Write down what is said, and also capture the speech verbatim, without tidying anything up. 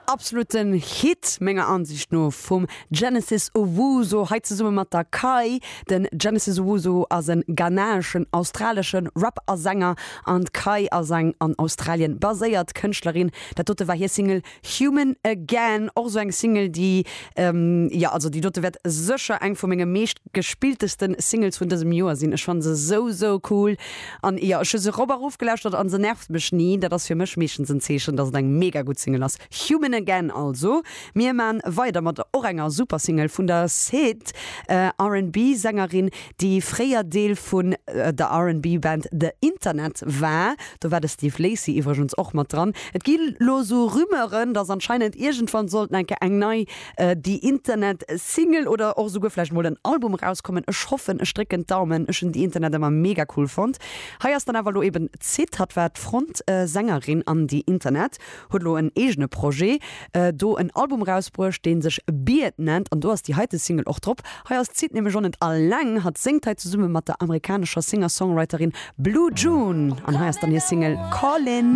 Absoluten Hit menger Ansicht no vum Genesis Owusu hei zesumme mat der Kai. Den Genesis Owusu ass en ghanaeschen australeschen Rap a Sänger an d'Kai ass eng an Australien baséiert Kënschtlerin. Dat dote war hir Single Human Again och sou eng Single déi ähm, ja also déi dote wäert sécher eng vu menge meescht gespilltesten Singles vun dësem Joer sinn. Ech fanne se sou sou cool an ja ech hu se rop a rof gelauschtert an se nervt mech ni. Dat ass fir mech meeschtens en Zeechen, dass et eng mega gutt Single ass. Human Again also. Mir maan weider mat och enger super Single vun der Syd äh, R&B-Sängerin, déi fréier Deel vun äh, der R&B-Band The Internet war. Do war de Steve Lacy iwwregens och mat dran. Et gi lo sou Rumeuren, dass anscheinend iergendwann sollt eng eng nei äh, The Internet Single oder och souguer vläicht mol en Album rauskommen. Ech hoffen, ech drécken d'Daumen. Ech hunn The Internet ëmmer mega cool fonnt. Hei ass dann awer lo eben d'Syd, hatt war d'Frontsängerin an The Internet, huet lo en eegene Projet, äh, do en Album rausbruecht, dee sech Beard nennt an do ass déi heite Single och drop. Hei ass d'Syd nämlech och net alleng, hatt séngt hei zesumme mat der amerikanescher Singer-Songwriterin Blue June an hei ass dann hir Single Callin'.